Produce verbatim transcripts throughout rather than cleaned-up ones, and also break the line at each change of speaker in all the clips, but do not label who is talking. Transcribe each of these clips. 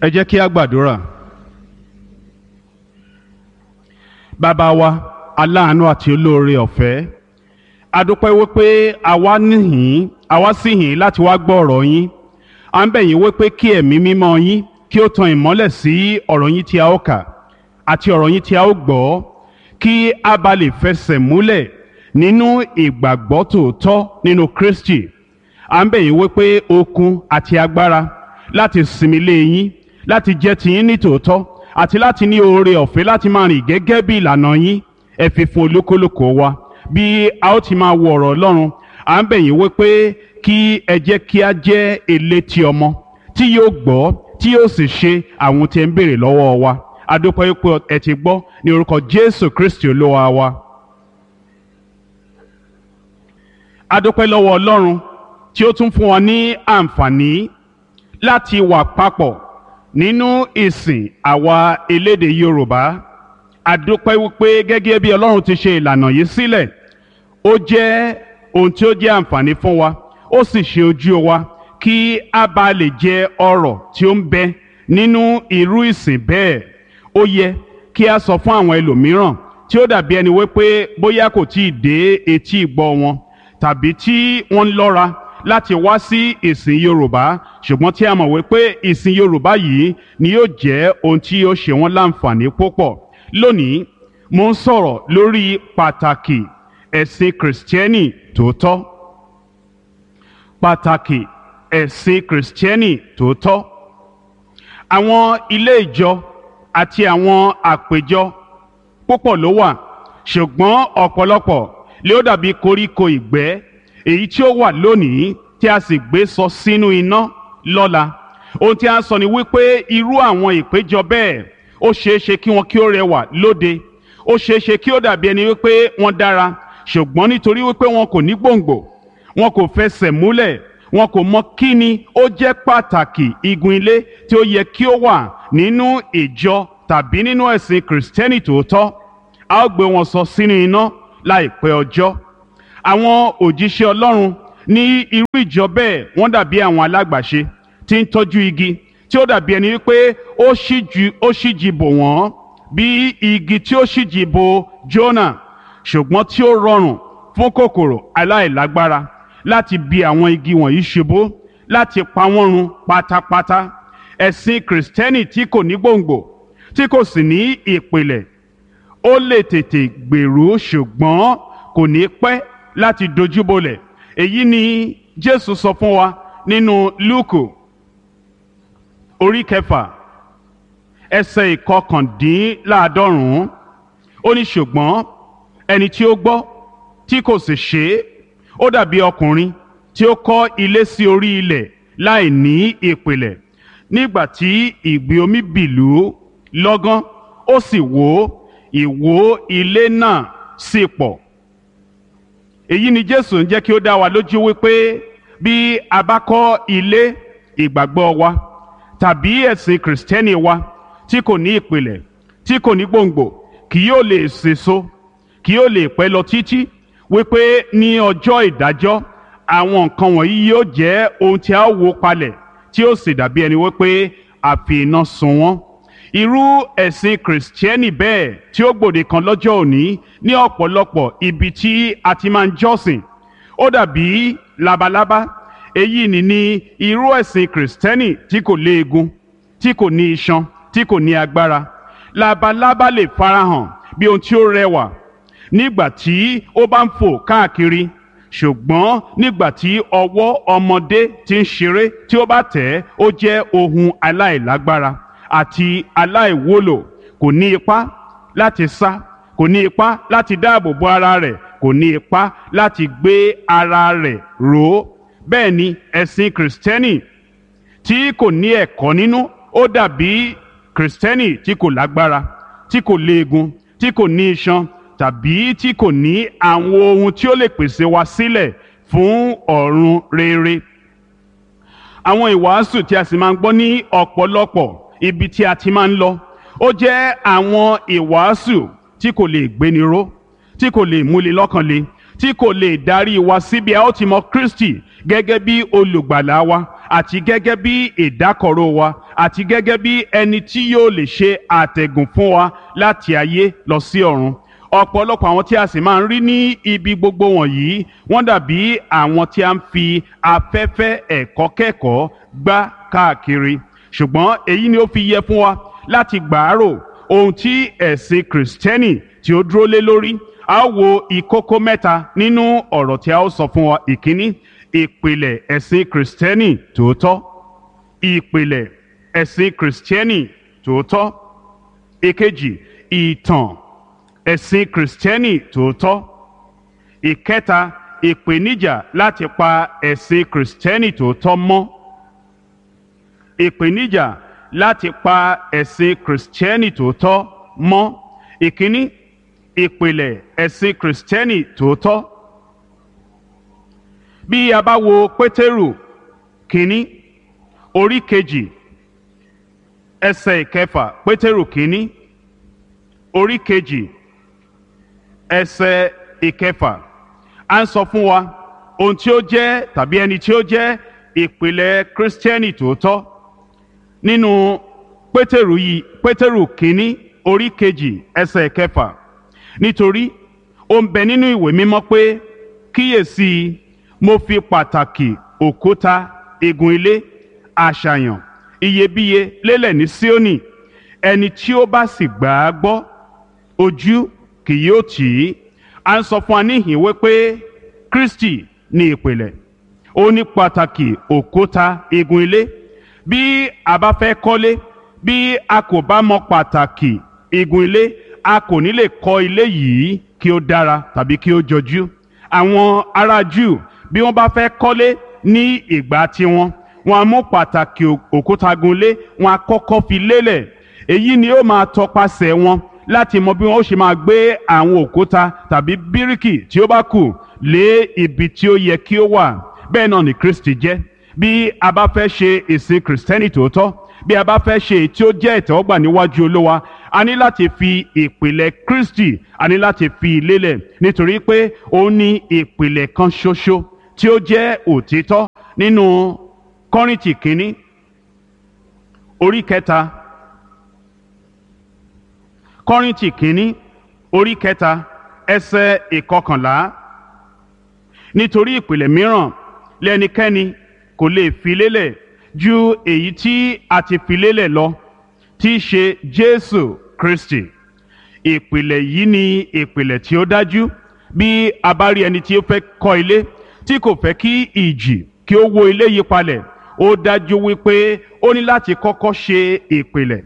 Ẹ jẹ́ kí a gbàdúrà. Bàbá wa, aláàánú àti olóore ọ̀fẹ́, a dúpẹ́ wípé àwa níhìn, àwa sì hìn láti wá gbọ́ ọ̀rọ̀ yín. À ń bẹ̀ yín wípé kí ẹ̀mí mímọ́ yín kí ó tan ìmọ́lẹ̀ sí ọ̀rọ̀ yín tí a ó kà àti ọ̀rọ̀ yín tí a ó gbọ́, kí a bá lè fẹsẹ̀ múlẹ̀ nínú ìgbàgbọ́ tòótọ́ nínú Kristi. À ń bẹ̀ yín wípé okun àti agbára láti sinmi lé yín, láti jẹ́ tiyín ní tòótọ́, àti láti ní oore ọ̀fẹ́ láti máa rìn gẹ́gẹ́ bí ìlànà yín, ẹ fi fún olúkúlùkù wa bí a ó ti máa wo ọ̀rọ̀ Ọlọ́run. À ń bẹ̀ yín wípé kí ẹ jẹ́ kí a jẹ́ elétí ọmọ tí yóò gbọ́, tí yóò sì ṣe àwọn tí ẹ ń béèrè lọ́wọ́ wa. A dúpẹ́ wípé ẹ ti gbọ́, ní orúkọ Jésù Kristi Olúwa wa. A dúpẹ́ lọ́wọ́ Ọlọ́run tí ó tún fún wa ní àǹfààní láti wà papọ̀ nínú ìsìn àwa elédè Yorùbá. A dúpẹ́ wípé gẹ́gẹ́ bí Ọlọ́run ti ṣe ìlànà yìí sílẹ̀, ó jẹ́ ohun tí ó jẹ́ àǹfààní fún wa, ó sì ṣe ojú wa kí a bá lè jẹ ọrọ̀ tí ó ń bẹ nínú irú ìsìn bẹ́ẹ̀. Ó yẹ kí a sọ fún àwọn ẹlòmíràn tí ó dàbí ẹni wípé bóyá kò tí ì dé etí ìgbọ́ wọn, tàbí tí wọ́n ń lọ́ra láti wá sí ìsìn Yorùbá, ṣùgbọ́n tí a mọ̀ wípé ìsìn Yorùbá yìí ni yóò jẹ́ ohun tí yóò ṣe wọ́n láǹfààní púpọ̀. Lónìí, mo ń sọ̀rọ̀ lórí pàtàkì ẹ̀sìn Kìrìsìtẹ́nì tòótọ́. Pàtàkì ẹ̀sìn Kìrìsìtẹ́nì tòótọ́. Àwọn ilé ìjọ àti àwọn àpèjọ púpọ̀ ló wà, ṣùgbọ́n ọ̀pọ̀lọpọ̀ lé ó dàbí koríko ìgbẹ́ èyí tí ó wà lónìí tí a sì gbé sọ sínú iná lọ́la. Ohun tí a ń sọ ni wípé irú àwọn ìpéjọ bẹ́ẹ̀, ó ṣeé ṣe kí wọn kí ó rẹwà lóde, ó ṣeé ṣe kí ó dàbí ẹni wípé wọ́n dára, ṣùgbọ́n nítorí wípé wọn kò ní gbòǹgbò, wọn kò fẹsẹ̀ múlẹ̀, wọn kò mọ kí ni ó jẹ́ pàtàkì igun ilé tí ó yẹ kí ó wà nínú ìjọ tàbí nínú ẹ̀sìn Kìrìsìtẹ́nì tòótọ́, a ó gbé wọn sọ sínú iná láìpẹ́ ọjọ́. Àwọn òjíṣẹ́ Ọlọ́run ní irú ìjọ bẹ́ẹ̀, wọ́n dàbí àwọn alágbàṣe tí ń tọ́jú igi tí ó dàbí ẹni wípé ó ṣíjú ó ṣíji bò wọ́n bí igi tí ó ṣíji bò Jónà, ṣùgbọ́n tí ó rọrùn fún kòkòrò aláìlágbára láti bi àwọn igi wọ̀nyí ṣubú, láti pa wọ́n run pátápátá. Ẹ̀sìn Kìrìsìtẹ́nì tí kò ní gbòǹgbò, tí kò sì ní ìpìlẹ̀, ó lè tètè gbèrú, ṣùgbọ́n kò ní pẹ́ láti dojúbolẹ̀. Èyí ni Jésù sọ fún wa nínú Lúùkù orí kẹfà, ẹsẹ̀ ìkọkàndínláàádọ́rùn-ún. Ó ní, ṣùgbọ́n ẹni tí ó gbọ́ tí kò sì ṣe é, ó dàbí ọkùnrin tí ó kọ́ ilé sí orí ilẹ̀ láì ní ìpìlẹ̀. Nígbà tí ìgbì omi bìlú lọ́gán, ó sì wó, ìwó ilé náà sì pọ̀. Èyí ni Jésù ń jẹ́ kí ó dá wa lójú wípé bí a bá kọ́ ilé ìgbàgbọ́ wa tàbí ẹ̀sìn Kìrìsìtẹ́nì wa tí kò ní ìpìlẹ̀, tí kò ní gbòǹgbò, kì yóò lè sèso, kì yóò lè pẹ́ lọ títí, wípé ní ọjọ́ ìdájọ́ àwọn nǹkan wọ̀nyí yóò jẹ́ ohun tí a ó wó palẹ̀, tí ó sì dàbí ẹni wípé a fi iná sun wọ́n. Irú ẹ̀sìn Kìrìsìtẹ́nì bẹ́ẹ̀ tí ó gbòde kan lọ́jọ́ òní ní ọ̀pọ̀lọpọ̀ ibi tí a ti máa ń jọ́sìn, ó dàbí labalábá. Èyí ni ní irú ẹ̀sìn Kìrìsìtẹ́nì tí kò léegun, tí kò ní iṣan, tí kò ní agbára. Labalábá lè farahàn bí ohun tí ó rẹwà nígbà tí ó bá ń fò káàkiri, ṣùgbọ́n nígbà tí ọwọ́ ọmọdé ti ń ṣeré tí ó bá tẹ̀ ẹ́, ó jẹ́ ohun aláìlágbára àti aláìwúlò. Kò ní ipá láti sá, kò ní ipá láti dáàbò bo ara rẹ̀, kò ní ipá láti gbé ara rẹ̀ ró. Bẹ́ẹ̀ ni ẹ̀sìn Kìrìsìtẹ́nì tí kò ní ẹ̀kọ́ nínú, ó dàbí Kìrìsìtẹ́nì tí kò lágbára, tí kò léegun, tí kò ní iṣan, tàbí tí kò ní àwọn ohun tí ó lè pèsè wa sílẹ̀ fún ọ̀run rere. Àwọn ìwàásù tí a sì máa ń gbọ́ ní ọ̀pọ̀lọpọ̀ ibi tí a ti máa ń lọ, ó jẹ́ àwọn ìwàásù tí kò lè gbéni ró, tí kò lè múni lọ́kàn le, tí kò lè darí wa síbi a ó ti mọ Kristi gẹ́gẹ́ bí olùgbàlà wa àti gẹ́gẹ́ bí ìdákọ̀ró wa àti gẹ́gẹ́ bí ẹni tí yóò lè ṣe àtẹ̀gùn fún wa láti ayé lọ sí ọ̀run. Ọ̀pọ̀lọpọ̀ àwọn tí a sì máa ń rí ní ibi gbogbo wọ̀nyí, wọ́n dàbí àwọn tí a ń fi afẹ́fẹ́ ẹ̀kọ́ kẹ́kọ̀ọ́ gbá káàkiri. Ṣùgbọ́n èyí ni ó fi yẹ fún wa láti gbàárò ohun tí ẹ̀sìn Kìrìsìtẹ́nì tí ó dúró lé lórí. A ó wo ìkókó mẹ́ta nínú ọ̀rọ̀ tí a ó sọ fún wa. Ìkíní, ìpìlẹ̀ ẹ̀sìn Kìrìsìtẹ́nì tòótọ́. Ìpìlẹ̀ ẹ̀sìn Kìrìsìtẹ́nì tòótọ́. Ìkejì, ìtàn ẹ̀sìn Kìrìsìtẹ́nì tòótọ́. Ìkẹta, ìpèníjà láti pa ẹ̀sìn Kìrìsìtẹ́nì tòótọ́ mọ́. Ìpèníjà láti pa ẹ̀sìn Kìrìsìtẹ́nì tòótọ́ mọ́. Ìkíní, ìpìlẹ̀ ẹ̀sìn Kìrìsìtẹ́nì tòótọ́. Bí a bá wo Pétérù kínní orí kejì ẹsẹ̀ ìkẹfà, Pétérù kínní orí kejì ẹsẹ̀ ìkẹfà, à ń sọ fún wa ohun tí ó jẹ́ tàbí ẹni tí ó jẹ́ ìpìlẹ̀ Kìrìsìtẹ́nì tòótọ́. Nínú Pétérù yìí, Pétérù kínní orí kejì ẹsẹ̀ ìkẹfà, nítorí ó ń bẹ nínú ìwé mímọ́ pé, kíyèsí, mo fi pàtàkì òkúta igun ilé àṣàyàn iyebíye lélẹ̀ ní Síónì, ẹni tí ó bá sì gbà á gbọ́, ojú kì yóò tì í. À ń sọ fún wa níhìn wípé Kristi ní ìpìlẹ̀, ó ní pàtàkì òkúta igun ilé. Bí a bá fẹ́ kọ́lé, bí a kò bá mọ pàtàkì igun ilé, a kò ní lè kọ́ ilé yìí kí ó dára tàbí kí ó jọjú. Àwọn ará Júù, bí wọ́n bá fẹ́ kọ́lé ní ìgbà tiwọn, wọ́n á mú pàtàkì òkúta gunlé, wọ́n á kọ́kọ́ fi lélẹ̀. Èyí ni ó máa tọpasẹ̀ wọn láti mọ bí wọ́n ó ṣe máa gbé àwọn òkúta tàbí bíríkì tí ó bá kù lé ibi tí ó yẹ kí ó wà. Bẹ́ẹ̀ náà ni Kristi jẹ́. Bí a bá fẹ́ ṣe ìsìn Kìrìsìtẹ́nì tòótọ́, bí a bá fẹ́ ṣe èyí tí ó jẹ́ ìtẹ́wọ́gbà níwájú Olúwa, a ní láti fi ìpìlẹ̀ Kristi, a ní láti fi lélẹ̀, nítorí pé ó ní ìpìlẹ̀ kan ṣoṣo tí ó jẹ́ òtítọ́. Nínú Kọ́ríńtì kínní orí kẹta, Kọ́ríńtì kínní orí kẹta ẹsẹ̀ ìkọkànlá, nítorí ìpìlẹ̀ mìíràn lẹ́nikẹ́ni kò lè fi lélẹ̀ ju èyí tí a ti fi lélẹ̀ lọ, tí í ṣe Jésù Kristi. Ìpìlẹ̀ yìí ni ìpìlẹ̀ tí ó dájú. Bí a bá rí ẹni tí ó fẹ́ kọ́ ilé tí kò fẹ́ kí ìjì kí ó wó ilé yìí palẹ̀, ó dájú wípé ó ní láti kọ́kọ́ ṣe ìpìlẹ̀,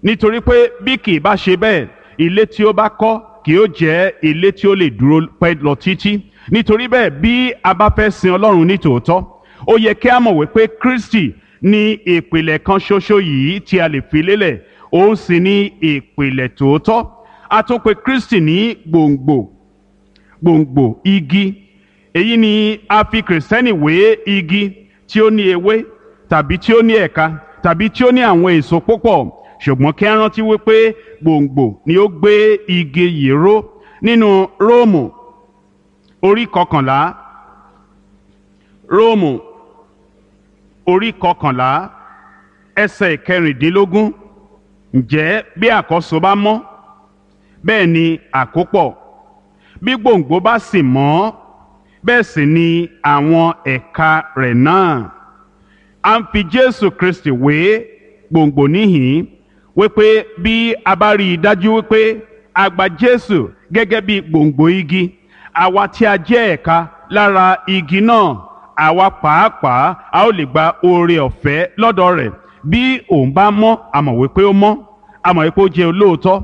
nítorí pé bí kì í bá ṣe bẹ́ẹ̀, ilé tí ó bá kọ́ kì yóò jẹ́ ilé tí ó lè dúró pẹ́ lọ títí. Nítorí bẹ́ẹ̀, bí a bá fẹ́ sin Ọlọ́run ní tòótọ́, ó yẹ kí a mọ̀ wípé Kristi ní ìpìlẹ̀ kan ṣoṣo yìí tí a lè fi lélẹ̀, òun sì ní ìpìlẹ̀ tòótọ́. A tún pè Kristi ní gbòǹgbò, gbòǹgbò igi. Èyí ni a fi Kìrìsìtẹ́nì wé igi tí ó ní ewé tàbí tí ó ní ẹ̀ka tàbí tí ó ní àwọn èso púpọ̀. Ṣùgbọ́n kí a rántí wípé gbòǹgbò ni ó gbé igi yìí ró. Nínú Róòmù orí kọkànlá, Róòmù orí kọkànlá ẹsẹ̀ ìkẹrìndínlógún, ǹjẹ́ bí àkọ́so bá mọ́, bẹ́ẹ̀ ni àkópọ̀; bí gbòǹgbò bá sì mọ́, bẹ́ẹ̀ sì ni àwọn ẹ̀ka rẹ̀ náà. A ń fi Jésù Kristi wé gbòǹgbò níhìn-ín, wípé bí a bá rí i dájú wípé a gba Jésù gẹ́gẹ́ bí gbòǹgbò igi, àwa tí a jẹ́ ẹ̀ka lára igi náà, àwa pàápàá a ó lè gba oore ọ̀fẹ́ lọ́dọ̀ rẹ̀. Bí òun bá mọ́, a mọ̀ wípé ó mọ́, a mọ̀ wípé ó jẹ́ olóòótọ́,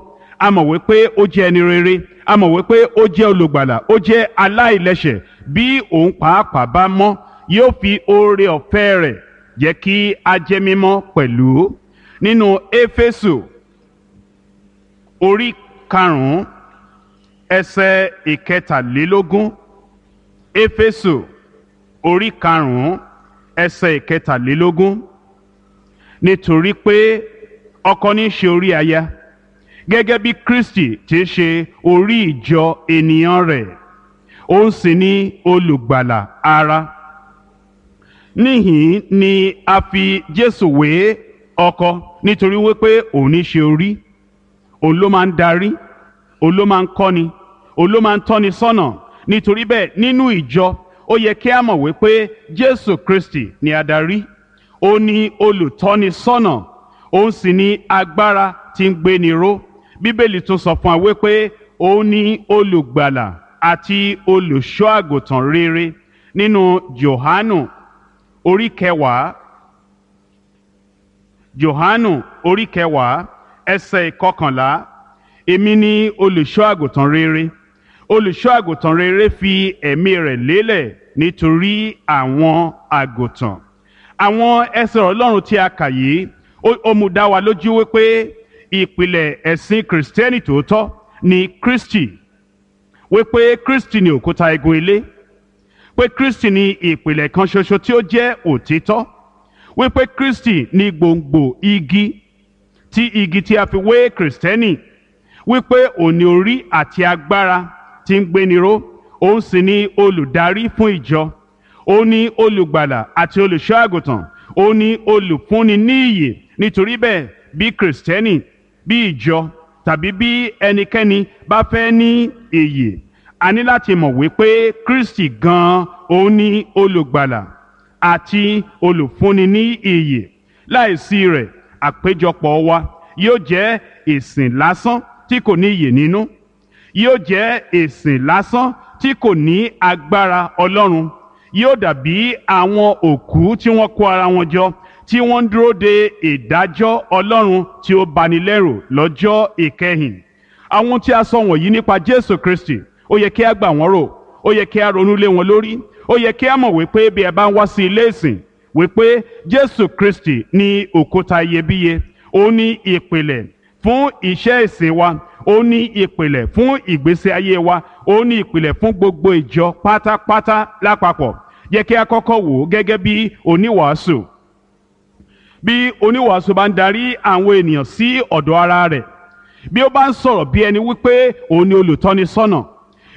a mọ̀ wípé ó jẹ́ ẹni rere, a mọ̀ wípé ó jẹ́ olùgbàlà, ó jẹ́ aláìlẹ́ṣẹ̀. Bí òun pàápàá bá mọ́, yóò fi oore ọ̀fẹ́ rẹ̀ jẹ́ kí a jẹ́ mímọ́ pẹ̀lú. Nínú Éfésù orí karùn-ún ẹsẹ̀ ìkẹtàlélógún, Éfésù orí karùn-ún ẹsẹ̀ ìkẹtàlélógún, nítorí pé ọkọ ní í ṣe orí aya, gẹ́gẹ́ bí Kristi ti ṣe orí ìjọ ènìyàn rẹ̀, Òun sì ni olùgbàlà ara. Níhìn ni a fi Jésù wé ọkọ, nítorí wípé òun ní ṣe orí, òun ló máa ń darí, òun ló máa ń kọ́ni, òun ló máa ń tọ́ni sọ́nà. Nítorí bẹ́ẹ̀, nínú ìjọ, ó yẹ kí a mọ̀ wípé Jésù Kristi ni adarí, ó ní olùtọ́ni sọ́nà, òun sì ní agbára tí ń gbéni ró. Bíbélì tún sọ fún wa wípé òun ní olùgbàlà àti olùṣọ́ àgùntàn rere nínú Jòhánù orí kẹwàá. Jòhánù orí kẹwàá, ẹsẹ̀ ìkọkànlá. Èmi ni olùṣọ́ àgùntàn rere. Olùṣọ́ àgùntàn rere fi ẹ̀mí rẹ̀ lélẹ̀ nítorí àwọn àgùntàn. Àwọn ẹsẹ̀ Ọlọ́run tí a kà yìí, ó mú dá wa lójú wípé ìpìlẹ̀ ẹ̀sìn Kìrìsìtẹ́nì tòótọ́ ni Kristi, wípé Kristi ni òkúta igun ilé, pé Kristi ni ìpìlẹ̀ kan ṣoṣo tí ó jẹ́ òtítọ́, wípé Kristi ni gbòǹgbò igi tí igi tí a fi wé Kìrìsìtẹ́nì, wípé òní orí àti agbára tí ń gbéni ró, òun sì ni olùdarí fún ìjọ, òun ni olùgbàlà àti olùṣọ́ àgùntàn, òun ni olùfúnni ní ìyè. Nítorí bẹ́ẹ̀, bí Kìrìsìtẹ́nì, bí ìjọ tàbí bí ẹnikẹ́ni bá fẹ́ ní ìyè, a ní láti mọ̀ wípé Kristi gan-an òun ni olùgbàlà àti olùfúnni ní ìyè. Láìsí rẹ̀, àpéjọpọ̀ wa yóò jẹ́ ìsìn lásán tí kò ní ìyè nínú, yóò jẹ́ ìsìn lásán tí kò ní agbára Ọlọ́run, yóò dàbí àwọn òkú tí wọ́n kó ara wọn jọ, tí wọ́n ń dúró de ìdájọ́ Ọlọ́run tí ó bani lẹ́rù lọ́jọ́ ìkẹyìn. Àwọn tí a sọ wọ̀nyí nípa Jésù Kristi, ó yẹ kí a gbà wọ́n rò, ó yẹ kí a ronú lé wọn lórí, ó yẹ kí a mọ̀ wípé bí ẹ bá ń wá sí ilé ìsìn, wípé Jésù Kristi ní òkúta iyebíye, ó ní ìpìlẹ̀ fún iṣẹ́ ìsìn wa, ó ní ìpìlẹ̀ fún ìgbésí ayé wa, ó ní ìpìlẹ̀ fún gbogbo ìjọ pátápátá lápapọ̀. Yẹ kí a kọ́kọ́ wò ó gẹ́gẹ́ bí oníwàásù. Bí oníwàásù bá ń darí àwọn ènìyàn sí ọ̀dọ̀ ara rẹ̀, bí ó bá ń sọ̀rọ̀ bí ẹni wípé òun ni olùtọ́nisọ́nà,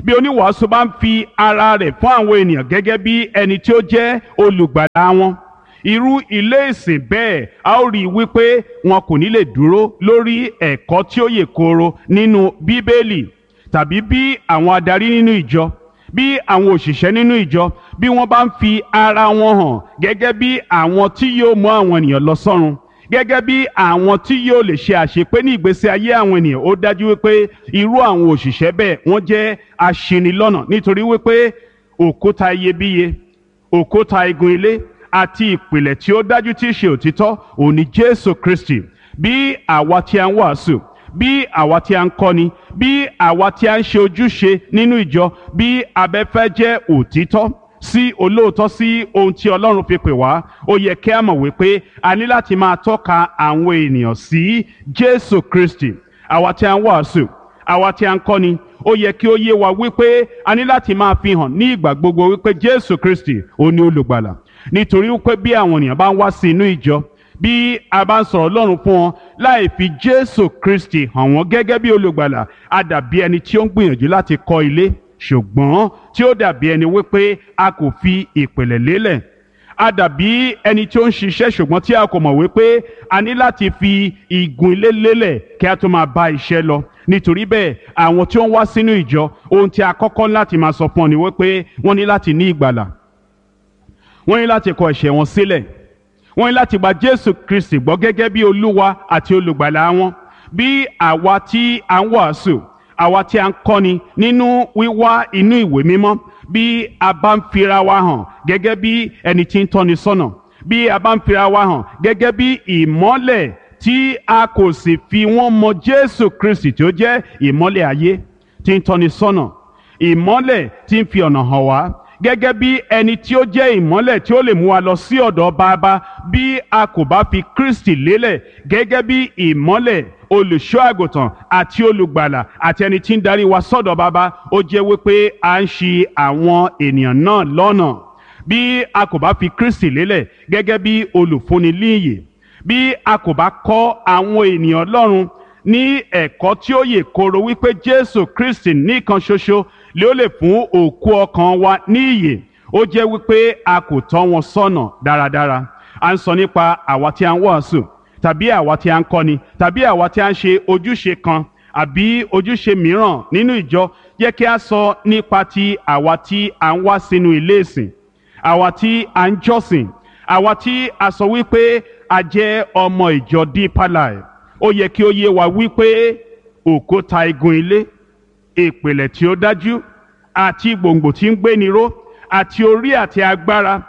bí oníwàásù bá ń fi ara rẹ̀ fún àwọn ènìyàn gẹ́gẹ́ bí ẹni tí ó jẹ́ olùgbàlà wọn, irú ilé ìsìn bẹ́ẹ̀, a ó rí i wípé wọn kò ní lè dúró lórí ẹ̀kọ́ tí ó yè kooro nínú Bíbélì. Tàbí bí àwọn adarí nínú ìjọ, bí àwọn òṣìṣẹ́ nínú ìjọ, bí wọ́n bá ń fi ara wọn hàn gẹ́gẹ́ bí àwọn tí yóò mú àwọn ènìyàn lọ sọ́run, gẹ́gẹ́ bí àwọn tí yóò lè ṣe àṣepé ní ìgbésí ayé àwọn ènìyàn, ó dájú wípé irú àwọn òṣìṣẹ́ bẹ́ẹ̀, wọ́n jẹ́ aṣinilọ́nà, nítorí wípé òkúta iyebíye, òkúta igun ilé àti ìpìlẹ̀ tí ó dájú tí í ṣe òtítọ́ òun ni Jésù Kristi. Bí àwa tí a ń wàásù, bí àwa tí a ń kọ́ni, bí àwa tí a ń ṣe ojúṣe nínú ìjọ, bí abẹ́fẹ́ jẹ́ òtítọ́ sí olóòótọ́ sí ohun tí Ọlọ́run fi pè wá, ó yẹ kí a mọ̀ wípé a ní láti máa tọ́ka àwọn ènìyàn sí Jésù Kristi. Àwa tí a ń wàásù, àwa tí a ń kọ́ni, ó yẹ kí ó yé wa wípé a ní láti máa fi hàn ní ìgbà gbogbo wípé Jésù Kristi òun ni olùgbàlà. Nítorí wípé bí àwọn ènìyàn bá ń wá sí inú ìjọ, bí a bá ń sọ̀rọ̀ Ọlọ́run fún wọn láì fi Jésù Kristi hàn wọ́n gẹ́gẹ́ bí olùgbàlà, a dàbí ẹni tí ó ń gbìyànjú láti kọ́ ilé, ṣùgbọ́n tí ó dàbí ẹni wípé a kò fi ìpìlẹ̀ lélẹ̀. A dàbí ẹni tí ó ń ṣiṣẹ́, ṣùgbọ́n tí a kò mọ̀ wípé a ní láti fi igun ilé lélẹ̀ kí a tó máa bá iṣẹ́ lọ. Nítorí bẹ́ẹ̀, àwọn tí ó ń wá sínú ìjọ, ohun tí a kọ́kọ́ láti máa sọ fún ọ ni wípé wọ́n ní láti ní ìgbàlà, wọ́n ní láti kọ ẹ̀ṣẹ̀ wọn sílẹ̀, wọ́n ní láti gba Jésù Kristi gbọ́ gẹ́gẹ́ bí Olúwa àti olùgbàlà wọn. Bí àwa tí a ń wàásù, àwa tí a ń kọ́ni nínú wíwá inú ìwé mímọ́, bí a bá ń fira wa hàn gẹ́gẹ́ bí ẹni tí ń tọ́ni sọ́nà, bí a bá ń fira wa hàn gẹ́gẹ́ bí ìmọ́lẹ̀ tí a kò sì fi wọ́n mọ Jésù Kristi tí ó jẹ́ ìmọ́lẹ̀ ayé tí ń tọ́ni sọ́nà, ìmọ́lẹ̀ tí ń fi ọ̀nà hàn wá, gẹ́gẹ́ bí ẹni tí ó jẹ́ ìmọ́lẹ̀ tí ó lè mú wa lọ sí ọ̀dọ̀ Bàbá, bí a kò bá fi Kristi lélẹ̀ gẹ́gẹ́ bí ìmọ́lẹ̀, olùṣọ́ àgùntàn àti olùgbàlà àti ẹni tí ń darí wa sọ́dọ̀ Bàbá, ó jẹ́ wípé à ń ṣì àwọn ènìyàn náà lọ́nà. Bí a kò bá fi Kristi lélẹ̀ gẹ́gẹ́ bí olùfúnni líyè, bí a kò bá kọ́ àwọn ènìyàn Ọlọ́run ní ẹ̀kọ́ tí ó yè kooro wípé Jésù Kristi nìkan ṣoṣo lé ó lè fún òkú ọkàn wa ní ìyè. Ó jẹ́ wípé a kò tọ́ wọn sọ́nà dáradára. À ń sọ nípa àwa tí a ń wàásù, tàbí àwa tí a ń kọ́ni, tàbí àwa tí a ń ṣe ojúṣe kan àbí ojúṣe mìíràn nínú ìjọ. Jẹ́ kí a sọ nípa ti àwa tí a ń wá sínú ilé ìsìn, àwa tí a ń jọ́sìn, àwa tí a sọ wípé a jẹ́ ọmọ ìjọ Deeper Life. Ó yẹ kí ó yé wa wípé òkúta igun ilé, ìpìlẹ̀ tí ó dájú àti gbòǹgbò tí ń gbéni ró, àti orí àti agbára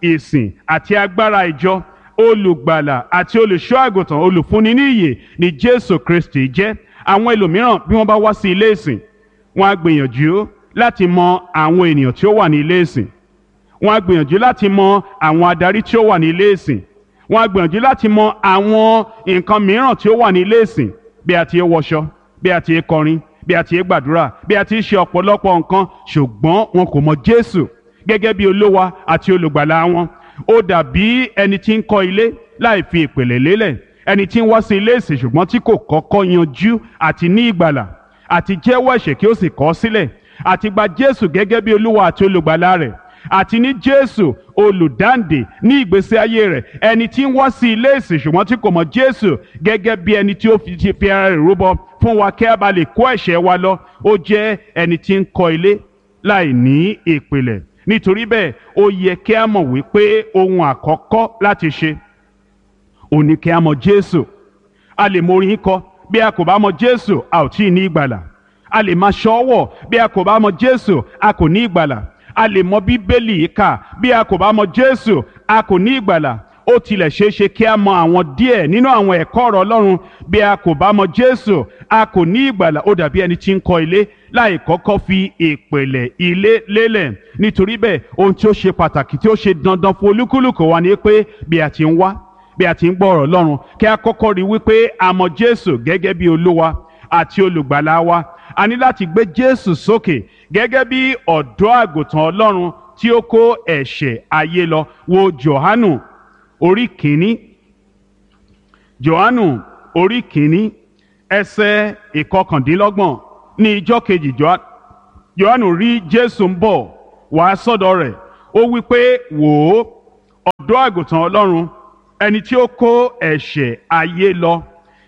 ìsìn àti agbára ìjọ, olùgbàlà àti olùṣọ́ àgùntàn, olùfúnni ní ìyè ni Jésù Kristi jẹ́. Àwọn ẹlòmíràn bí wọ́n bá wá sí ilé ìsìn, wọ́n á gbìyànjú láti mọ àwọn ènìyàn tí ó wà ní ilé ìsìn, wọ́n á gbìyànjú láti mọ àwọn adarí tí ó wà ní ilé ìsìn, wọ́n á gbìyànjú láti mọ àwọn nǹkan mìíràn tí ó wà ní ilé ìsìn, bí a ti ń wọṣọ, bí a ti ń kọrin, bí a ti ń gbàdúrà, bí a ti ń ṣe ọ̀pọ̀lọpọ̀ nǹkan, ṣùgbọ́n wọn kò mọ Jésù gẹ́gẹ́ bí Olúwa àti olùgbàlà wọn. Ó dàbí ẹni tí ń kọ́ ilé láì fi ìpìlẹ̀ lélẹ̀, ẹni tí ń wá sí ilé ìsìn ṣùgbọ́n tí kò kọ́kọ́ yanjú àti ní ìgbàlà àti jẹ́wọ́ ẹ̀ṣẹ̀ kí ó sì kọ̀ ọ́ sílẹ̀, àti gba Jésù gẹ́gẹ́ bí Olúwa àti olùgbàlà rẹ̀, àti ní Jésù olùdáǹdè ní ìgbésí ayé rẹ̀. Ẹni tí ń wá sí ilé ìsìn ṣùgbọ́n tí kò mọ̀ Jésù gẹ́gẹ́ bí ẹni tí ó fi ti fi ara rẹ̀ rúbọ fún wa kí a bá lè kó ẹ̀ṣẹ̀ wa lọ, ó jẹ́ ẹni tí ń kọ́ ilé láì ní ìpìlẹ̀. Nítorí bẹ́ẹ̀, ó yẹ kí a mọ̀ wípé ohun àkọ́kọ́ láti ṣe òun ni kí a mọ̀ Jésù. A lè mọ orin kọ, bí a kò bá mọ̀ Jésù a ò tí ì ní ìgbàlà. A lè máa ṣọ́wọ̀, bí a kò bá mọ̀ Jésù a kò ní ìgbàlà. A lè mọ Bíbélì kà, bí a kò bá mọ̀ Jésù a kò ní ìgbàlà. Ó tilẹ̀ ṣeé ṣe kí a mọ àwọn díẹ̀ nínú àwọn ẹ̀kọ́ ọ̀rọ̀ Ọlọ́run, bí a kò bá mọ̀ Jésù a kò ní ìgbàlà. Ó dàbí ẹni tí ń kọ́ ilé láì kọ́kọ́ fi ìpìlẹ̀ ilé lélẹ̀. Nítorí bẹ́ẹ̀, ohun tí ó ṣe pàtàkì tí ó ṣe dandan fún olúkúlùkù wa ni pé bí a ti ń wá, bí a ti ń gbọ́ ọ̀rọ̀ Ọlọ́run, kí a kọ́kọ́ rí wípé a mọ̀ Jésù gẹ́gẹ́ bí Olúwa àti olùgbàlà wa. A ní láti gbé Jésù sókè gẹ́gẹ́ bí ọ̀dọ́ àgùntàn Ọlọ́run tí ó kó ẹ̀ṣẹ̀ ayé lọ. Wo Jòhánù orí kìíní. Jòhánù orí kìíní ẹsẹ̀ ìkọkàndínlọ́gbọ̀n. Ní ijọ́ kejì Jòhánù rí Jésù ń bọ̀ wá sọ́dọ̀ rẹ̀. Ó wí pé, wò ó, ọ̀dọ́ àgùntàn Ọlọ́run, ẹni tí ó kó ẹ̀ṣẹ̀ ayé lọ.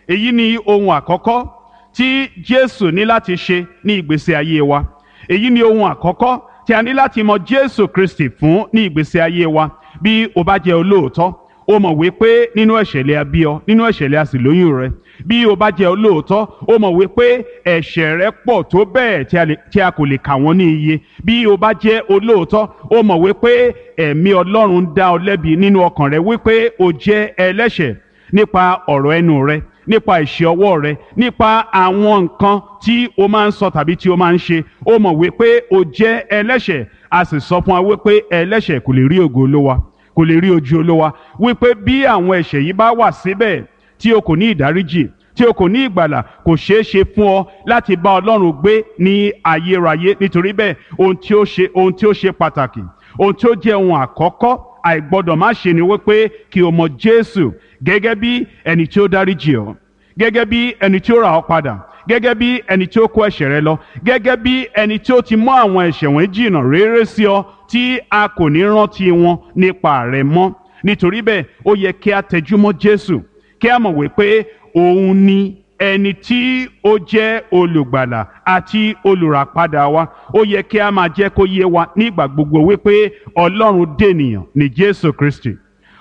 Èyí ni ohun àkọ́kọ́ tí Jésù ní láti ṣe ní ìgbésí ayé wa. Èyí ni ohun àkọ́kọ́ tí a ní láti mọ Jésù Kristi fún ní ìgbésí ayé wa. Bí o bá jẹ́ olóòótọ́, o mọ̀ wípé nínú ẹ̀ṣẹ̀ lè a bí ọ, nínú ẹ̀ṣẹ̀ lè a sì lóyún rẹ. Bí o bá jẹ́ olóòótọ́, o mọ̀ wípé ẹ̀ṣẹ̀ rẹ pọ̀ tó bẹ́ẹ̀ tí a kò lè kà wọ́n ní iye. Bí o bá jẹ́ olóòótọ́, o mọ̀ wípé ẹ̀mí Ọlọ́run ń dá ọ lẹ́bi nínú ọkàn rẹ wípé o jẹ́ ẹlẹ́ṣẹ̀ nípa ọ̀rọ̀ ẹnu rẹ, nípa ìṣe ọwọ́ rẹ, nípa àwọn nǹkan tí o máa ń sọ tàbí tí o máa ń ṣe. O mọ̀ wípé o jẹ́ ẹlẹ́ṣẹ̀. A sì sọ fún wa wípé ẹlẹ́ṣẹ̀ kò lè rí ògo Olúwa, kò lè rí ojú Olúwa. Wípé bí àwọn ẹ̀ṣẹ̀ yìí bá wà síbẹ̀ tí o kò ní ìdáríjì, tí o kò ní ìgbàlà, kò ṣeé ṣe fún ọ láti bá Ọlọ́run gbé ní ayérayé. Nítorí bẹ́ẹ̀, ohun tí ó ṣe ohun tí ó ṣe pàtàkì, ohun tí ó jẹ́ ohun àkọ́kọ́ àìgbọ́dọ̀ má ṣe ni wípé kí o mọ Jésù gẹ́gẹ́ bí ẹni tí ó dáríjì ọ́, gẹ́gẹ́ bí ẹni tí ó rà ọ́ padà, gẹ́gẹ́ bí ẹni tí ó kó ẹ̀ṣẹ̀ rẹ lọ, gẹ́gẹ́ bí ẹni tí ó ti mú àwọn ẹ̀ṣẹ̀ wọ̀nyí jìnnà réré sí ọ tí a kò ní rántí wọn nípa rẹ mọ́. Nítorí bẹ́ẹ̀, ó yẹ kí a tẹjúmọ́ Jésù, kí a mọ̀ wípé òun ni ẹni tí ó jẹ́ olùgbàlà àti olùràpadà wa. Ó yẹ kí a máa jẹ́ kó yé wa nígbà gbogbo wípé Ọlọ́run dènìyàn ní Jésù Kristi.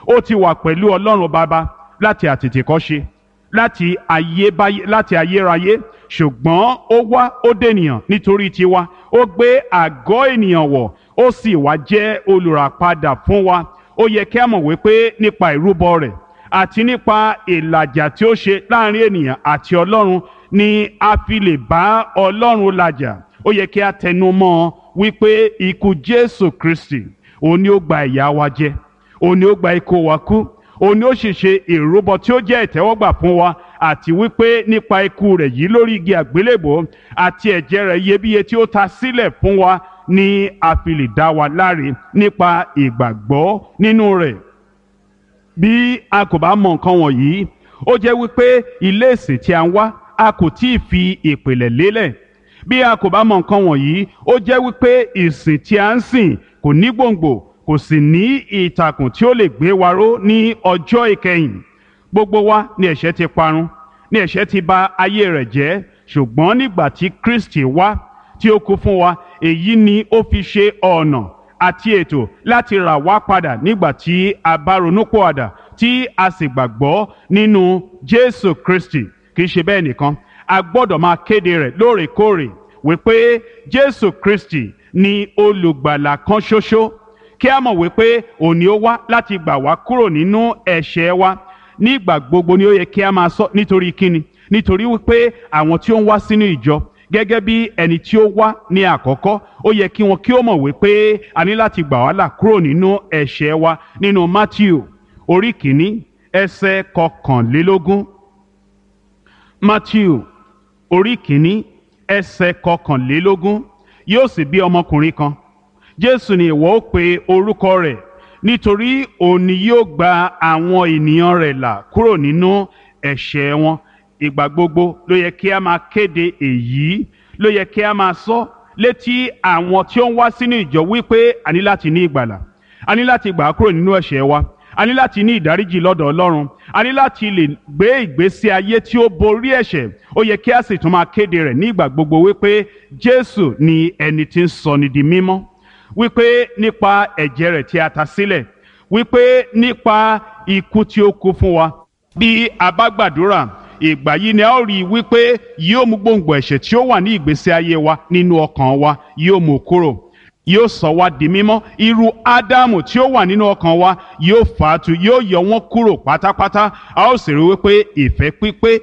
Ó ti wà pẹ̀lú Ọlọ́run Baba láti àtètèkọ́ṣe, láti ayébáyé, láti ayérayé, ṣùgbọ́n ó wá, ó dènìyàn nítorí tiwa. Ó gbé àgọ́ ènìyàn wọ̀, ó sì wá jẹ́ olùràpadà fún wa. Ó yẹ kí a mọ̀ wípé nípa ìrúbọ rẹ̀ àti nípa ìlàjà tí ó ṣe láàrin ènìyàn àti Ọlọ́run ni a fi lè bá Ọlọ́run làjà. Ó yẹ kí a tẹnu mọ́ wípé ikú Jésù Kristi òun ni ó gba ìyà wa jẹ, òun ni ó gba ikú wa kú, òun ni ó sì ṣe ìrúbọ tí ó jẹ́ ìtẹ́wọ́gbà fún wa, àti wípé nípa ikú rẹ̀ yìí lórí igi àgbélébòó àti ẹ̀jẹ̀ rẹ̀ iyebíye tí ó ta sílẹ̀ fún wa ni a fi lè dá wa láre nípa ìgbàgbọ́ nínú rẹ̀. Bí a kò bá mọ nǹkan wọ̀nyí, ó jẹ́ wípé ilé ìsìn tí a ń wá, a kò tí ì fi ìpìlẹ̀ lélẹ̀. Bí a kò bá mọ nǹkan wọ̀nyí, ó jẹ́ wípé ìsìn tí a ń sìn kò ní gbòǹgbò, kò sì ní ìtàkùn tí ó lè gbé wa ró ní ọjọ́ ìkẹyìn. Gbogbo wa ni ẹ̀ṣẹ̀ ti parun, ní ẹ̀ṣẹ̀ ti bà ayé rẹ̀ jẹ́, ṣùgbọ́n nígbà tí Kristi wá tí ó kú fún wa, èyí ni ó fi ṣe ọ̀nà àti ètò láti rà wá padà nígbà tí a bá ronúpìwàdà tí a sì gbàgbọ́ nínú Jésù Kristi. Kì í ṣe bẹ́ẹ̀ nìkan, a gbọ́dọ̀ máa kéde rẹ̀ lóòrèkóòrè wípé Jésù Kristi ni olùgbàlà kan ṣoṣo, kí a mọ̀ wípé òun ni ó wá láti gbà wá kúrò nínú ẹ̀ṣẹ̀ wa. Nígbà gbogbo ni ó yẹ kí a máa sọ. Nítorí kíni? Nítorí wípé àwọn tí ó ń wá sínú ìjọ gẹ́gẹ́ bí ẹni tí ó wá ní àkọ́kọ́, ó yẹ kí wọn kí ó mọ̀ wípé a ní láti gbà wá là kúrò nínú ẹ̀ṣẹ̀ wa. Nínú Matthew orí kìíní ẹsẹ̀ kọkànlélógún. Matthew orí kìíní ẹsẹ̀ kọkànlélógún. Yóò sì bí ọmọkùnrin kan, Jésù ni ìwọ ó pe orúkọ rẹ̀, nítorí òun ni yóò gba àwọn ènìyàn rẹ̀ là kúrò nínú ẹ̀ṣẹ̀ wọn. Ìgbà gbogbo ló yẹ kí a máa kéde èyí, ló yẹ kí a máa sọ létí àwọn tí ó ń wá sínú ìjọ wípé a ní láti ní ìgbàlà, a ní láti gbà á kúrò nínú ẹ̀ṣẹ̀ wa, a ní láti ní ìdáríjì lọ́dọ̀ Ọlọ́run, a ní láti lè gbé ìgbésí ayé tí ó borí ẹ̀ṣẹ̀. Ó yẹ kí a sì tún máa kéde rẹ̀ ní ìgbà gbogbo wípé Jésù ni ẹni tí ń sọni di mímọ́, wípé nípa ẹ̀jẹ̀ rẹ̀ tí a ta sílẹ̀, wípé nípa ikú tí ó kú fún wa. Bí a bá gbàdúrà, ìgbà yìí ni a ó rí i wípé yóò mú gbòǹgbò ẹ̀ṣẹ̀ tí ó wà ní ìgbésí ayé wa nínú ọkàn wa, yóò mú kúrò, yóò sọ wá di mímọ́. Irú Ádámù tí ó wà nínú ọkàn wa yóò fà á tu, yóò yọ wọ́n kúrò pátápátá. A ó sì rí wípé ìfẹ́ pípé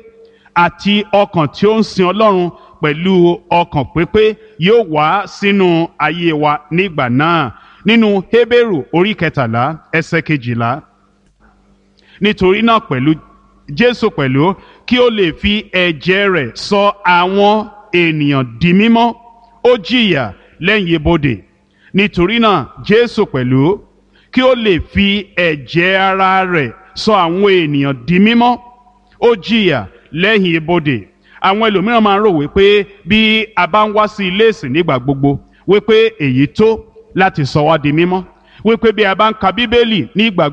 àti ọkàn tí ó ń sin Ọlọ́run pẹ̀lú ọkàn pípé yóò wá sínú ayé wa nígbà náà. Nínú Hébérù orí kẹtàlá ẹsẹ̀ kejìlá. Nítorí náà pẹ̀lú Jésù pẹ̀lú, kí ó lè fi ẹ̀jẹ̀ rẹ̀ sọ àwọn ènìyàn di mímọ́, ó jìyà lẹ́yìn ibodè. Nítorí náà Jésù pẹ̀lú, kí ó lè fi ẹ̀jẹ̀ ara rẹ̀ sọ àwọn ènìyàn di mímọ́, ó jìyà lẹ́yìn ibodè. Àwọn ẹlòmíràn máa ń rò wípé bí a bá ń wá sí ilé ìsìn nígbà gbogbo, wípé èyí tó láti sọ wá di mímọ́, wípé bí a bá ń ka Bíbélì nígbà